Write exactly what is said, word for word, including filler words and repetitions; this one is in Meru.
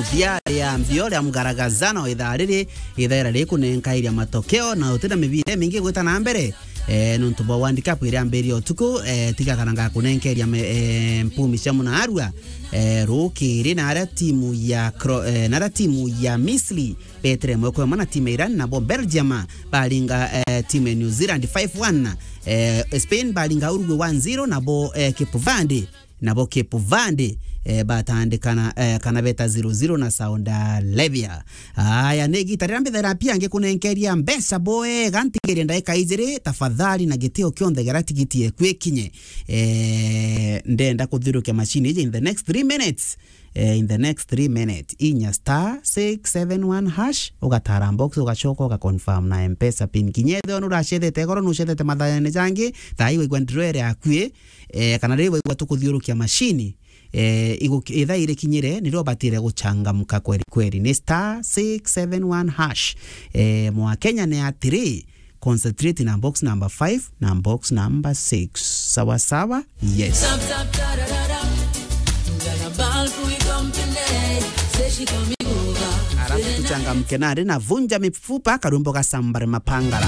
ithia ria mbio ria mgaragazano ithaa riri, ithaira rikunenkairia matokeo na utina mibira imingi gwita na mbere. Eh, nontu bwa World Cup iria ambiririe utuku, eh, tiga kana ngakunenkeria me-, eh, mpumi cia munaarua, eh, rukiri na aria timu ya Cro-, eh, na aria timu ya Misri betire mweko emwe na timu ya Iran, nabo Belgium baringa, eh, timu ya New Zealand five one, eh, Spain baringa Uruguay one zero, nabo, eh, Cape Verde nabo Cape Verde, eh, batandikana, eh, kana beta zero zero na Saudi Arabia. Aya, ni igita riria mbithera pia ngikunenkeria mbeca bwega, ntigirie ndaika ijiri, tafadhali, na gitio kionthe geria tigiti eku ikinye. Eh, ndenda kuthiurukia machine iji in the next three minutes. Eh, in the next three minutes, inya star six seven one hash, ugatara box, ugacoka ugaconfirm na M-Pesa pin. Kinya ethirwa nuracethete goro, nucethete mathaene jangi, thaa ii waigua ndiro ere akui, eh, kana riria waigua tukuthiurukia machine, eh, igu-, ithaa irikinyire, nirio ubatire guchangamka kweri kweri. Ni star six seven one hash. Eh, mwa Kenya ni atiri, concentrate na box number five na box number six. Sawa sawa? Yes. Alafu tuchangamke nari na vunja mifupa, karumbo ga Sambare Mapangala.